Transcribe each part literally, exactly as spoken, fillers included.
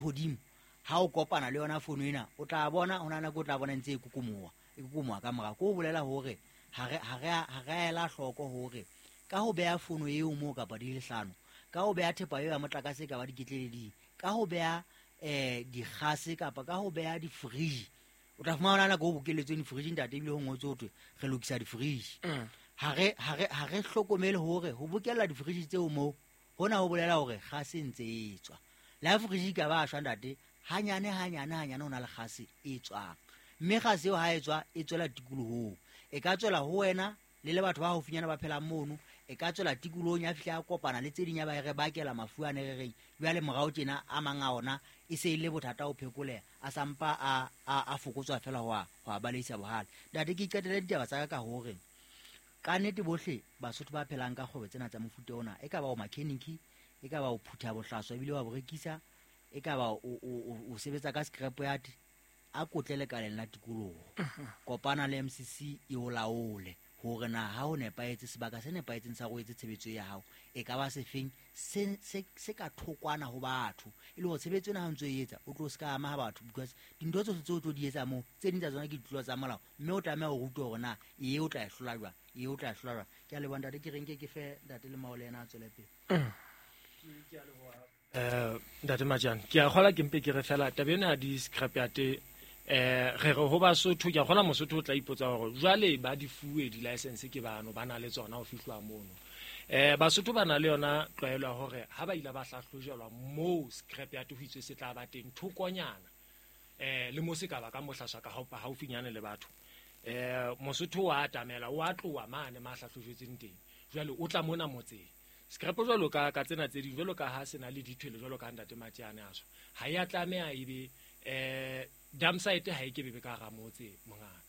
Hodimo ha o kopana le yona fono ena, o tla bona ho na nako o tla bona ntse e kukumoa, e kukumoa ka morao. Ke ho bolela hore ha re ha re ha re ela hloko hore ka ho beha fono eo moo kapa di le hlano, ka ho beha thepa eo ya motlakase ka ba diketleleding, ka ho beha eh dikgase kapa ka ho beha di-fridge, o tla fumana nako o bokeletsweng di-fridge ntate, ebile ho ngotswe ho thwe re lokisa di-fridge. Ha re ha re ha re hlokomele hore ho bokella di-fridge tseo moo hona ho bolela hore kgase e ntse e tswa. Le ha fridge e ka ba shwa ntate, hanyane hanyane hanyane ho na le kgase e tswang, mme kgase eo ha e tswa e tswela tikolohong, e ka tswela ho wena le le batho ba haufinyana ba phelang mono, e ka tswela tikolohong ya fihla ya kopana le tse ding ya ba e re bakela mafu a ne re reng jwale morao tjena a mang a ona e se e le bothata ho phekoleha, a sampa a a a fokotswa fela ho a ho a baleisa bohale. Ntate, ke qetele ditaba tsa ka ka hore ka nnete bohle Basotho ba phelang ka kgwebo tsena tsa mofuta ona, e ka ba o mechanic, e ka ba o phutha bohlaswa ebile wa bo rekisa, e ka ba o o o sebetsa ka scrap yard, a kotle lekaleng la tikoloho, kopana le M C C e o laole hore na ha ho nepahetse, sebaka se nepahetseng sa ho etse tshebetso ya hao e ka ba sefeng se se se ka thokwana ho batho, e le hore tshebetso ena ha o ntso e etsa o tlo se ka ama ha batho, because dintho tsohle tseo o tlo di etsa moo tse ding tsa tsona ke ditlolo tsa molao, mme o tlameha ho rutwa hore na e o tla e hlola jwang, e o tla e hlola jwang. Ke a leboha ntate, ke reng ke ke fe ntate le Maole yena a tswele pele. Eh ntate Majane, ke a kgola ke mpe ke re fela taba ena ya di-scrap yard, eh re re ho Basotho, ke a kgola Mosotho o tla ipotsa hore jwale ba di fuwe di-license ke bano ba na le tsona ho fihlwa mono. Eh Basotho ba na le yona tlwaelo ya hore ha ba ile ba hlahlojelwa moo scrap yard ho itswe se tla ba teng thokonyana, eh le mo se ka ba ka mohlaswa ka haufinyane le batho. Eh Mosotho wa atamela, o a tloha mane ma hlahlojetsweng teng, jwale o tla mona motseng. Scrap jwalo ka ka tsena tse ding, jwalo ka ha se na le dithwele jwalo ka ntate Matjane a so, ha ya tlameha ebe eh dump site ha e ke bebe ka hara motse mongaka.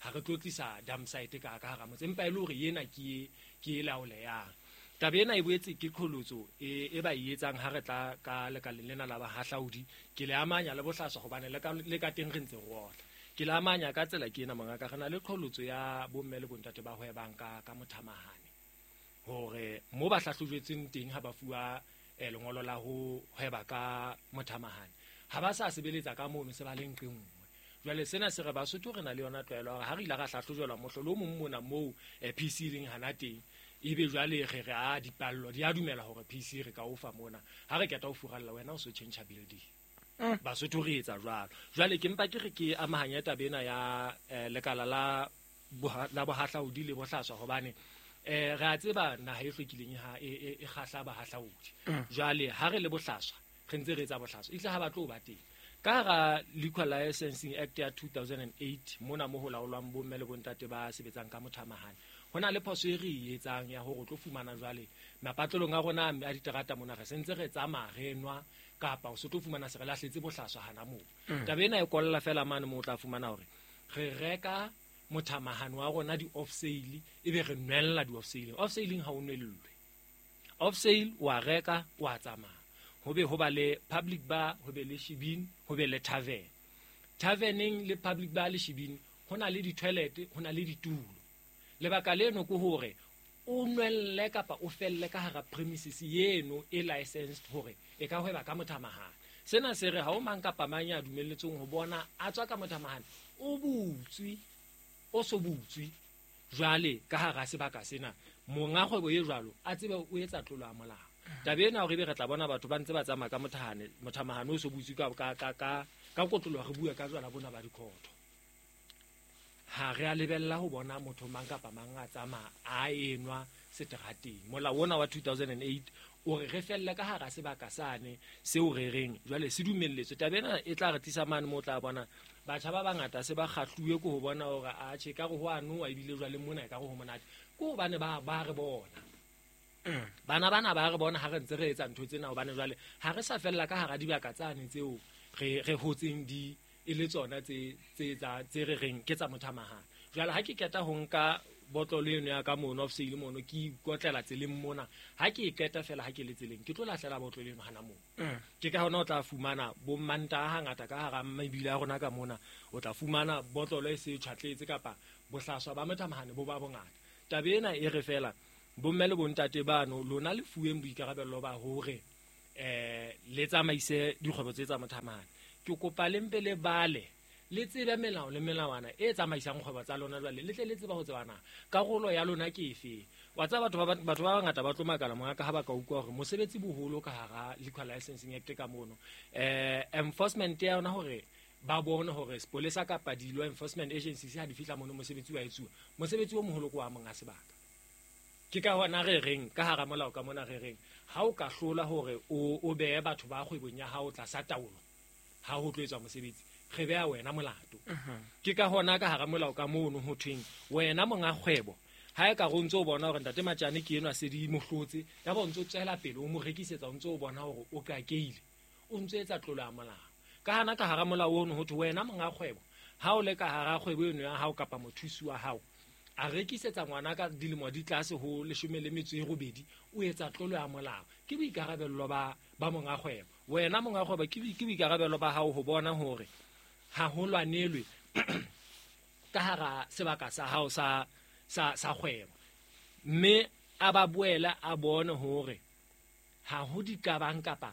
Ha re tlo tlisa dump site ka ka hara motse, empa e le hore ena ke e, ke e laoleyang. Taba ena e boetse ke qholotso e, e ba e etsang ha re tla ka lekaleng lena la bahahlaudi. Ke le amanya le bohlaswa hobane le ka, le ka teng re ntse re otla. Ke le amanya ka tsela ke ena mongaka, re na le qholotso ya bomme le bontate ba hwebang ka, ka mothamahane, hore mo ba hlahlojetsweng teng ha ba fuwa, eh, lengolo la ho hweba ka mothamahane, ha ba sa sebeletsa ka mono, se ba le nqe nngwe. Jwale sena se re Basotho re na le yona tlwaelo hore ha re ile ra hlahlojelwa mohlolo o mong mona moo, eh, P C e leng hana teng, ebe jwale re re a dipallo di a dumela hore P C re ka o fa mona, ha re keta ho furalla wena o so change building. Mm. Basotho re etsa jwalo. Jwale ke mpa ke re ke amahanya taba ena ya, eh, lekala la boha-, la bohahlaudi le bohlaswa, hobane eh, re a tseba naha e hlwekileng ha e, e, e kgahla bahahlaudi. Mm. Jwale ha re le bohlaswa re ntse re etsa bohlaswa, ehlile ha ba tlo ba teng. Ka hara Liquor Licensing Act ya two thousand and eight mona mo ho laolwang bomme le bontate ba sebetsang ka mothamahane, ho na le phoso e re e etsang ya hore o tlo fumana jwale mapatlelong a rona a diterata mona re sentse re tsamaya re nwa, kapa o se tlo fumana se re lahletse bohlaswa hana moo. Mm. Taba ena e kolla fela mane moo o tla fumana hore re reka mothamahane wa rona di-off sale, ebe re nwella di-off sale. Off sale ha o nwellwe, off sale wa reka wa tsamaya. Ho be ho ba le public bar, ho be le shebeen, ho be le tavern. Taverneng le public bar le shebeen ho na le di-toilet, ho na le ditulo. Lebaka leno ke hore o nwelle kapa o felle ka hara premises eno e licensed hore e ka hweba ka mothamahane. Sena se re ha o mang kapa mang ya dumelletsweng ho bona a tswa ka mothamahane, o butswe, o so butswe jwale ka hara sebaka sena, monga kgwebo e jwalo a tsebe o etsa tlolo ya molao. Taba ena hore ebe re tla bona batho ba ntse ba tsamaya ka mothahane, mothamahane o so butswe ka, ka, ka, ka, ka kotloloho, re bue ka jwala bona ba dikhotho. Ha re a lebella ho bona motho mang kapa mang a tsamaya a enwa seterateng. Molao ona wa two thousand and eight o re re felle ka hara sebaka sane seo re reng jwale se dumelletswe. Taba ena e tla re tlisa mane moo o tla bona batjha ba bangata se ba kgahluwe ke ho bona hore atjhe, ekare ho a nowa ebile jwale mona ekare ho monate, ke hobane ba, ba re bona. Mm. Bana bana ba re bona ha re ntse re etsa ntho tsena, hobane jwale ha re sa fella ka hara dibaka tsane tseo re, re hotseng di e le tsona tse, tse tsa, tse re reng ke tsa mothamahane. Jwale ha ke qeta ho nka botlolo eno ya ka mono off sale mono, ke ikotlela tseleng mona, ha ke e qeta fela ha ke le tseleng ke tlo lahlela botlolo eno hana moo. Mm. Ke ka hona o tla fumana bo Mantaha hangata ka hara mebila ya rona ka mona, o tla fumana botlolo e se tjhwatletse kapa bohlaswa ba mothamahane bo ba bongata. Taba ena e re fela bomme le bontate bano lona le fuweng boikarabello ba hore eh le tsamaise dikgwebo tse tsa mothamane. Ke kopa le mpe le bale le tsebe melao le melawana e tsamaisang kgwebo tsa lona jwale le tle le tseba ho tsebana karolo ya lona ke efe. Wa tseba batho ba batho ba bangata ba tlo makala mongaka ha ba ka utlwa hore mosebetsi boholo ka hara Liquor Licensing Act ka mono eh enforcement ya yona hore ba bone hore sepolesa kapa di law enforcement agencies ha di fihla mono mosebetsi wa etsuwa, mosebetsi o moholo ke wa monga sebaka. Ke ka hona re reng ka hara molao ka mona re reng ha o ka hlola hore o o behe batho ba kgwebong ya hao tlasa taolo ha ho tlo etswa mosebetsi, re beha wena molato. Ke ka hona ka hara molao ka mono ho thweng wena monga kgwebo ha e ka re o ntso o bona hore ntate Matjane ke enwa se di mohlotse, ya ba o ntso tswela pele o mo rekisetsa, o ntso o bona hore o kakeile, o ntso etsa tlolo ya molao. Ka hana ka hara molao ono ho thwe wena monga kgwebo ha o le ka hara kgwebo eno ya hao kapa mothusi wa hao a rekisetsa ngwana ka dilemo di tlase ho leshome le metso e robedi, o etsa tlolo ya molao. Ke boikarabello ba ba monga kgwebo. Wena monga kgwebo ke ke boikarabello ba hao ho bona hore ha ho lwanelwe ka hara sebaka sa hao sa sa sa kgwebo, mme a ba boela a bone hore ha ho diqabang kapa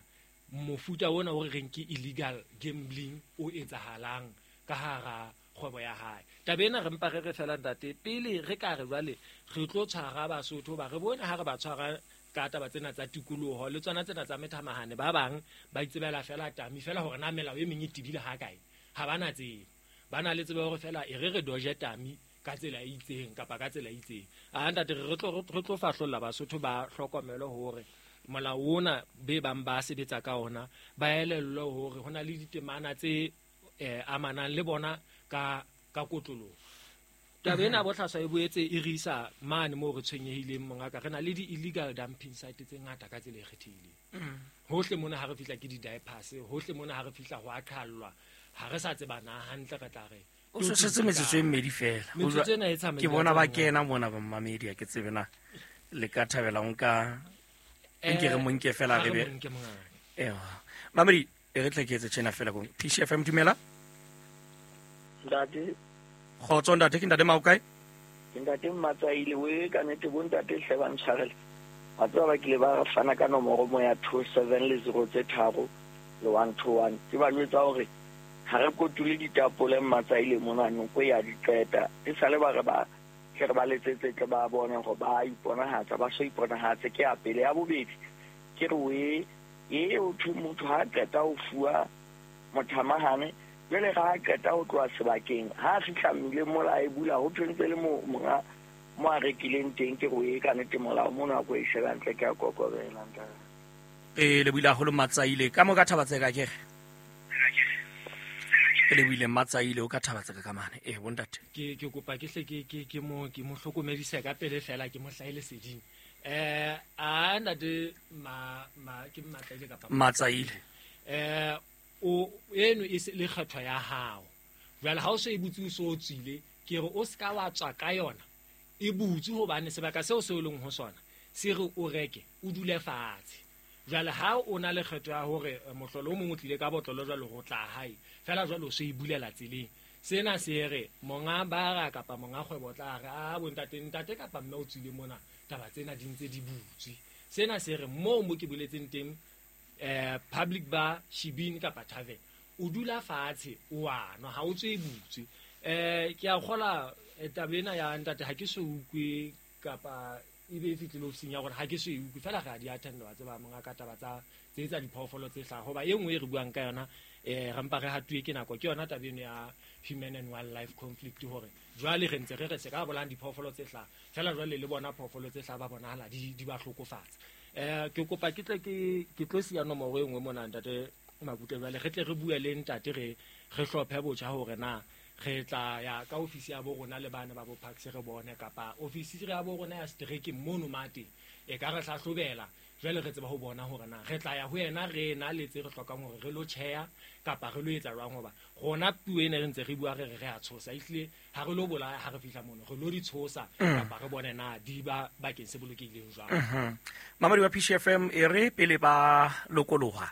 mofuta ona o re reng ke illegal gambling o etsahalang ka hara kgwebo ya hae. Taba ena re mpa re re fela ntate pele re ka re jwale re tlo tshwara Basotho ba re bone ha re ba tshwara ka taba tsena tsa tikoloho le tsona tsena tsa methamahane, ba bang ba itsebela fela tami fela hore na melao e meng e tebile ha kae, ha bana tsebo, ba na le tsebo hore fela e re re doje tami ka tsela e itseng kapa ka tsela e itseng. A ntate re tlo re tlo fahlolla Basotho ba hlokomelo hore molao ona be bang ba sebetsa ka ona ba elellwe hore hona le ditemana tse eh amanang le bona ka ka kotloloho. Taba ena bohlaswa e boetse e re isa mane moo re tshwenyehileng mongaka, re na le di-illegal dumping site tse ngata ka tsela e kgethehileng. Hohle mona ha re fihla ke di-diapers, hohle mona ha re fihla ho a qhallwa, ha re sa tseba na hantle re tla re o setse metsotso e mmedi fela. Metsotso ena e tsamaile ke bona ba kena mona ba mmamedi, ha ke tsebe na le ka thabela ho nka nke re mo nke fela re be ewa mamedi e re tle ke etse tjena fela kong P C F M. Dumela ntate. Kgotso ntate, ke ntate Maokae? Ke ntate Matsaile. We ka nnete bo ntate hle ba ntshwarele. Wa tseba ba kile ba fana ka nomoro mo ya two seven le zero tse tharo le one two one. Ke ba jwetsa hore ha re kotule ditapole Matsaile mona noko ya di qeta. E sale ba re ba ke re ba letsetse tle ba bone hore ba iponahatsa, ba so iponahatse. Ke ya pele. Ya bobedi ke re we e o thwe motho ha qeta ho fuwa mothamahane jwale ga a qeta ho tloha sebakeng ha a fihla mmileng mola e bula ho thwentse le mo monga mo a rekileng teng. Ke re e ka nnete molao mona ko e sheba ntle ke a kokobela ntate. E le buile haholo Matsaile ka mo ka Thabatseka ke re le buile Matsaile o ka Thabatseka ka mane. E bontate ke ke kopa ke hle ke ke ke mo ke mo hlokomedise ka pele fela ke mo hlaele seding. Eh a ntate ma ma ke Matsaile kapa Matsaile eh o eno e se le kgethwa ya hao jwale ha o se e butse o so tswile, ke re o ska wa tswa ka yona e butse hobane sebaka seo se o leng ho sona se re o reke o dule fatshe. Jwale ha o na le kgetho ya hore mohlolo o mong o tlile ka botlolo jwale ho tla hae fela jwale o se e bulela tseleng, sena se re monga bara kapa monga kgwebo tla re a bontate ntate kapa mme o tswile mona taba tsena di ntse di butswe. Sena se re moo mo ke boletseng teng eh public bar shibini kapa tavern o dula fatshe o a nwa ha o tswe butswe. Eh ke a kgola taba ena ya ntate ha ke so ukwe kapa e be e fihlile ofising ya gore ha ke so e ukwe fela ga di attend wa tseba monga ka taba tsa tse tsa diphoofolo tse hlaha hoba e nngwe e re buang ka yona eh re mpa re hatuwe ke nako ke yona taba eno ya human and wildlife conflict hore jwale re ntse re re se ka bolang diphoofolo tse hlaha fela jwale le bona phoofolo tse hlaha ba bonahala di di ba hlokofatsa. Eh ke kopa ke tle ke ke tlo siya nomoro e nngwe mona ntate Makutle jwale re tle re bue le ntate re re hlophe botjha hore na re tla ya ka ofisi ya bo rona le bana ba bo Parks re bone kapa ofisi ya bo rona ya strike mono mate e ka re hlahlobela jwale re tseba ho bona hore na re tla ya ho yena re na le tse re hlokang hore re lo tjheya kapa re lo etsa jwang hoba rona puo ena re ntse re bua re re re a tshosa ehlile ha re lo bolaya ha re fihla mono re lo di tshosa kapa re bone na di ba bakeng se bolokehileng jwang. Mamadi wa P C F M e re pele ba lokoloha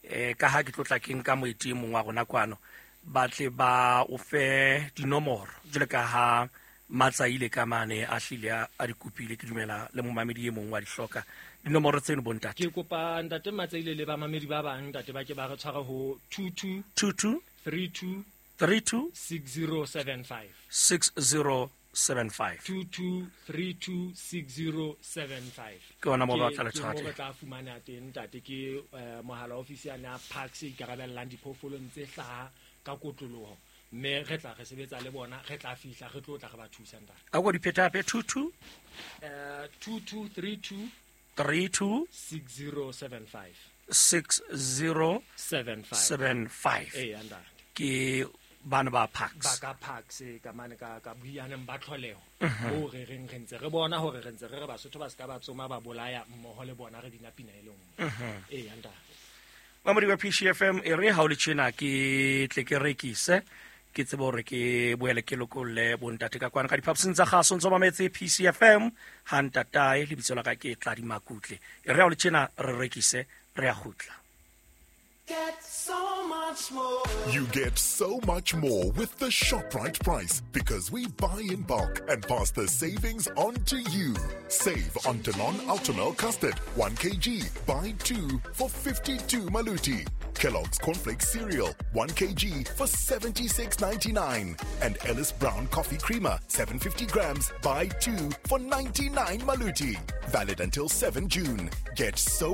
eh ka ha ke tlotla ke nka moeti mong wa rona kwano ba tle ba o fe dinomoro jwale ka ha Matsaile ka mane a hlile a a di kopile, ke dumela le momamedi e mong wa di hloka dinomoro tseno bontate. Ke kopa ntate Matsaile le bamamedi ba bang ntate ba ke ba re tshware ho two two two two three two three two six zero seven five six zero seven five two two three two six zero seven five. Ke ona moo ba Ke- tla le ke tshwara moo teng. re tla fumana teng ntate, ke eh, mohala ofisi ya na Parks e ikarabellang diphoofolong tse hlaha ka kotloloho, mme re tla re sebetsa le bona, re tla fihla re tlo tla re ba thusa ntate. A ko di pheta hape, two two Eh, two two three two three two six zero seven five six zero seven five seven five. Ee, ntate. Ke bana ba Ba Parks. ka Parks ka mane ka ka buianeng ba tlholeho moo re reng re ntse re bona hore re ntse re re Basotho ba ska ba tsoma ba bolaya mmoho le bona re bina pina e le nngwe. Ee, ntate. Mamodi wa P C F M, e re ha o le tjena ke tle ke rekise, ke tsebe hore ke boele ke lokolle bontate ka kwana ka diphaposing tsa kgaso. Ntso mametse P C F M ha ntatae, lebitso la ka ke Tladi Makutle. E re ha o le tjena re rekise, re a kgutla. Get so much more. You get so much more with the ShopRite price because we buy in bulk and pass the savings on to you. Save on Danone Ultimel Custard, one kilogram, buy two for fifty-two maluti. Kellogg's Cornflakes Cereal, one kilogram for seventy-six ninety-nine. And Ellis Brown Coffee Creamer, seven fifty grams, buy two for ninety-nine maluti. Valid until seven June. Get so